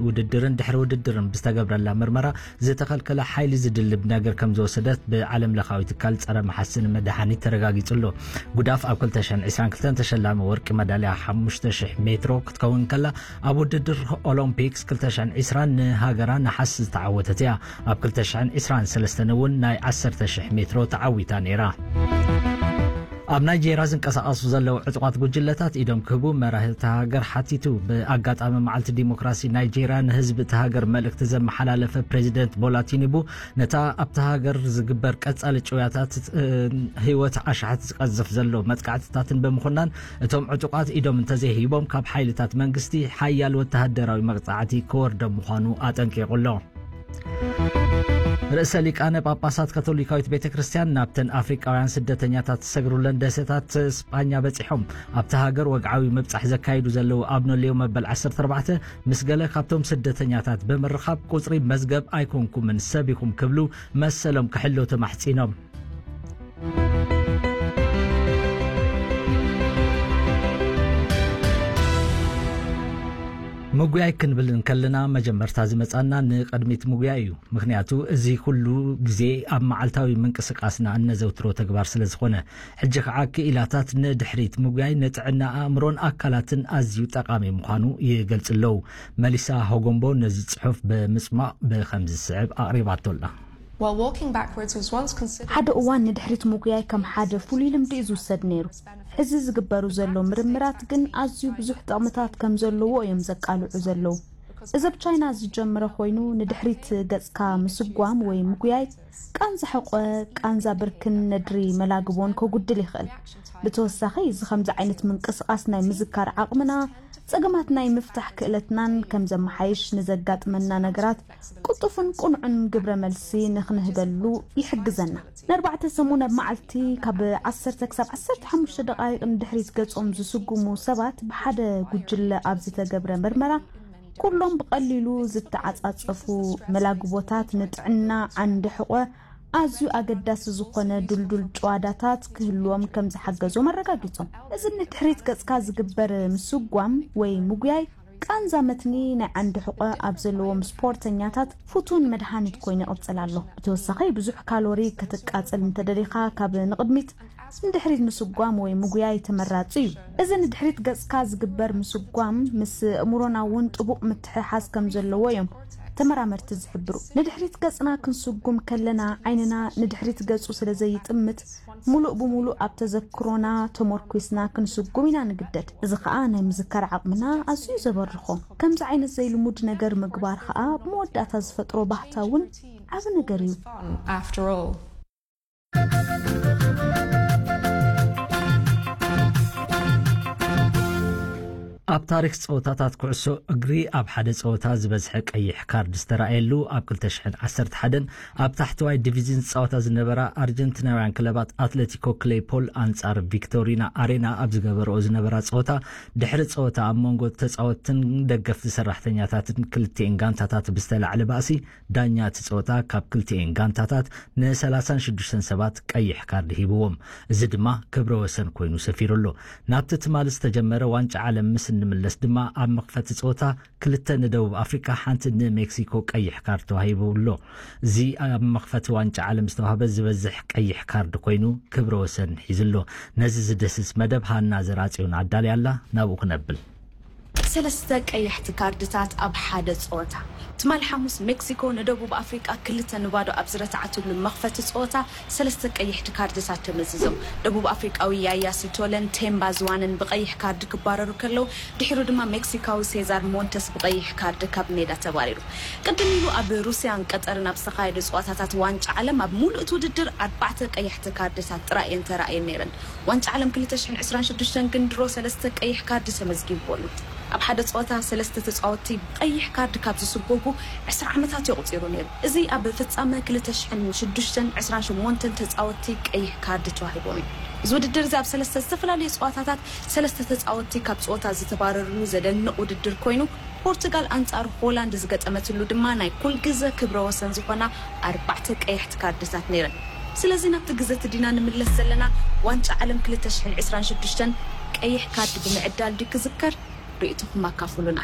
ውድድርን ድሕሪ ውድድርን ብዝተገብረላ ምርመራ ዝተኸልከለ ሓይሊ ዝድልብ ነገር ከም ዝወሰደት ብዓለም ለኻዊ ትካል ጸረ መሓስን መድሃኒት ተረጋጊጹ ኣሎ። ጉዳፍ ኣብ ክልተ ሽሕን ዕስራን ክልተን ተሸላሚ ወርቂ መዳልያ ሓሙሽተ ሽሕ ሜትሮ ክትከውን ከላ፣ ኣብ ውድድር ኦሎምፒክስ ክልተ ሽሕን ዕስራን ንሃገራ ነሓስ ዝተዓወተት እያ። ኣብ ክልተ ሽሕን ዕስራን ሰለስተን እውን ናይ ዓሰርተ ሽሕ ሜትሮ ተዓዊታ ነይራ። ኣብ ናይጄርያ ዝንቀሳቐሱ ዘለዉ ዕጡቓት ጉጅለታት ኢዶም ክህቡ መራሒ እታ ሃገር ሓቲቱ። ብኣጋጣሚ መዓልቲ ዲሞክራሲ ናይጄርያ ንህዝቢ እታ ሃገር መልእክቲ ዘመሓላለፈ ፕሬዚደንት ቦላ ቲኒቡ፣ ነታ ኣብታ ሃገር ዝግበር ቀጻሊ ጭውያታት፣ እ፣ ህይወት ኣሽሓት ዝቀዝፍ ዘሎ መጥቃዕትታትን ብምኹናን፣ እቶም ዕጡቓት ኢዶም እንተዘይሂቦም ካብ ሓይልታት መንግስቲ ሓያል ወተሃደራዊ መቕጻዕቲ ክወርዶም ምዃኑ ኣጠንቂቑ ኣሎ። ርእሰ ሊቃነ ጳጳሳት ካቶሊካዊት ቤተ ክርስቲያን ናብተን ኣፍሪቃውያን ስደተኛታት ዝሰግሩለን ደሴታት ስጳኛ በጺሖም። ኣብታ ሃገር ወግዓዊ ምብጻሕ ዘካይዱ ዘለዉ ኣብኖ ሌዮ መበል ዓሰርተ ኣርባዕተ፣ ምስ ገለ ካብቶም ስደተኛታት ብምርኻብ፣ ቁጽሪ መዝገብ ኣይኮንኩምን፣ ሰብ ኢኹም ክብሉ መሰሎም ክሕሎ ተማሕጺኖም። ምጉያይ ክንብል እንከለና፣ መጀመርታ ዝመጻና ንቕድሚት ምጉያይ እዩ። ምኽንያቱ፣ እዚ ኩሉ ግዜ ኣብ መዓልታዊ ምንቅስቃስና እነዘውትሮ ተግባር ስለ ዝኾነ። ሕጂ ኸዓ ክኢላታት ንድሕሪት ምጉያይ ንጥዕና ኣእምሮን ኣካላትን ኣዝዩ ጠቓሚ ምዃኑ ይገልጹ ኣለዉ። መሊሳ ሆጎምቦ ነዚ ጽሑፍ ብምጽማቕ ብኸምዚ ዝስዕብ ኣቕሪባቶ ኣላ። While walking backwards was once considered ሓደ እዋን ንድሕሪት ምጉያይ ከም ሓደ ፍሉይ ልምዲ እዩ ዝውሰድ ነይሩ። ሕዚ ዝግበሩ ዘሎ ምርምራት ግን ኣዝዩ ብዙሕ ጥቕምታት ከም ዘለዎ እዮም ዘቃልዑ ዘለዉ። እዚ ኣብ ቻይና ዝጀመረ ኮይኑ፣ ንድሕሪት ገጽካ ምስጓም ወይ ምጉያይ ቃንዛ ሕቆ፣ ቃንዛ ብርክን ነድሪ መላግቦን ከጉድል ይኽእል። ብተወሳኺ፣ እዚ ከምዚ ዓይነት ምንቅስቓስ ናይ ምዝካር ዓቕምና፣ ጸገማት ናይ ምፍታሕ ክእለትናን ከም ዘመሓይሽ፣ ንዘጋጥመና ነገራት ቅልጡፍን ቅኑዕን ግብረ መልሲ ንኽንህበሉ ይሕግዘና። ንኣርባዕተ ሰሙን ኣብ መዓልቲ ካብ ዓሰርተ ክሳብ ዓሰርተ ሓሙሽተ ደቓይቕ ንድሕሪት ገጾም ዝስጉሙ ሰባት ብሓደ ጉጅለ ኣብ ዝተገብረ ምርመራ፣ ኩሎም ብቐሊሉ ዝተዓጻጸፉ መላግቦታት ንጥዕና ዓንዲ ሕቖ ኣዝዩ ኣገዳሲ ዝኾነ ድልዱል ጭዋዳታት ክህልዎም ከም ዝሓገዞም ኣረጋጊጾም። እዚ ንድሕሪት ገጽካ ዝግበር ምስጓም ወይ ምጉያይ ቃንዛ መትኒ ናይ ዓንዲ ሕቖ ኣብ ዘለዎም ስፖርተኛታት ፍቱን መድሃኒት ኮይኑ ይቕጽል ኣሎ። ብተወሳኺ፣ ብዙሕ ካሎሪ ክትቃጽል እንተደሊኻ፣ ካብ ንቕድሚት ንድሕሪት ምስጓም ወይ ምጉያይ ተመራጺ እዩ። እዚ ንድሕሪት ገጽካ ዝግበር ምስጓም ምስ ኣእምሮና እውን ጥቡቕ ምትሕሓዝ ከም ዘለዎ እዮም ተመራመርቲ ዝሕብሩ። ንድሕሪት ገጽና ክንስጉም ከለና፣ ዓይንና ንድሕሪት ገጹ ስለ ዘይጥምት፣ ሙሉእ ብሙሉእ ኣብ ተዘክሮና ተመርኲስና ክንስጉም ኢና ንግደድ። እዚ ኸኣ ናይ ምዝካር ዓቕምና ኣዝዩ ዘበርኾ። ከምዚ ዓይነት ዘይልሙድ ነገር ምግባር ኸኣ ብመወዳእታ ዝፈጥሮ ባህታ እውን ዓቢ ነገር እዩ። After all። ኣብ ታሪኽ ጸወታታት ኩዕሶ እግሪ ኣብ ሓደ ጸወታ ዝበዝሐ ቀይሕ ካርድ ዝተራእየሉ፣ ኣብ ክልተ ሽሕን ዓሰርተ ሓደን ኣብ ታሕተዋይ ዲቪዝን ዝጻወታ ዝነበራ ኣርጀንቲናውያን ክለባት ኣትሌቲኮ ክሌይፖል ኣንጻር ቪክቶሪና ኣሬና ኣብ ዝገበረኦ ዝነበራ ጸወታ፣ ድሕሪ ጸወታ ኣብ መንጎ ተጻወትትን ደገፍቲ ሰራሕተኛታትን ክልቲኤን ጋንታታት ብዝተላዕለ ባእሲ፣ ዳኛ እቲ ጸወታ ካብ ክልቲኤን ጋንታታት ንሰላሳን ሽዱሽተን ሰባት ቀይሕ ካርድ ሂብዎም። እዚ ድማ ክብረ ወሰን ኮይኑ ሰፊሩ ኣሎ። ናብቲ ትማሊ ዝተጀመረ ዋንጫ ዓለም ምስ እንምለስ ድማ፣ ኣብ መኽፈቲ ጸወታ ክልተ ንደቡብ ኣፍሪቃ፣ ሓንቲ ንሜክሲኮ ቀይሕ ካርድ ተዋሂቡ ኣሎ። እዚ ኣብ መኽፈቲ ዋንጫ ዓለም ዝተዋህበ ዝበዝሕ ቀይሕ ካርድ ኮይኑ ክብረ ወሰን ሒዙ ኣሎ። ነዚ ዝድህስስ መደብ ሃና ዘርኣጽዮን ኣዳልያ ኣላ። ናብኡ ክነብል። ሰለስተ ቀያሕቲ ካርድታት ኣብ ሓደ ጸወታ። ትማል ሓሙስ ሜክሲኮ ንደቡብ ኣፍሪቃ ክልተ ንባዶ ኣብ ዝረትዓትሉ መኽፈቲ ጸወታ ሰለስተ ቀያሕቲ ካርድታት ተመዚዞም። ደቡብ ኣፍሪቃዊ ያያ ሲቶለን ቴምባ ዝዋንን ብቀይሕ ካርድ ክባረሩ ከለዉ፣ ድሒሩ ድማ ሜክሲካዊ ሴዛር ሞንተስ ብቀይሕ ካርድ ካብ ሜዳ ተባሪሩ። ቅድም ኢሉ ኣብ ሩስያን ቀጠርን ኣብ ዝተኻየዱ ጸወታታት ዋንጫ ዓለም ኣብ ሙሉእ እቲ ውድድር ኣርባዕተ ቀያሕቲ ካርድታት ጥራይ እየን ተራእየን ነይረን። ዋንጫ ዓለም ክልተ ሽሕን ዕስራን ሽዱሽተን ግን ድሮ ሰለስተ ቀይሕ ካርድ ተመዝጊቡ ኣሎ። ኣብ ሓደ ጸወታ ሰለስተ ተጻወትቲ ቀይሕ ካርድ ካብ ዝስጎጉ ዕስራ ዓመታት የቑጺሩ ነይሩ። እዚ ኣብ ፍጻመ ክልተ ሽሕን ሽዱሽተን ዕስራን ሸሞንተን ተጻወትቲ ቀይሕ ካርድ ተዋሂቦም እዩ። እዚ ውድድር እዚ ኣብ ሰለስተ ዝተፈላለዩ ጸወታታት ሰለስተ ተጻወትቲ ካብ ጸወታ ዝተባረርሉ ዘደንቕ ውድድር ኮይኑ፣ ፖርቱጋል ኣንጻር ሆላንድ ዝገጠመትሉ ድማ ናይ ኩል ግዘ ክብረ ወሰን ዝኾና ኣርባዕተ ቀያሕቲ ካርድታት ነይረን። ስለዚ ናብቲ ግዘ እቲ ዲና ንምለስ ዘለና፣ ዋንጫ ዓለም ክልተ ሽሕን ዕስራን ሽዱሽተን ቀይሕ ካርድ ብምዕዳል ድዩ ክዝከር? ርእይቶኹም ኣካፍሉና።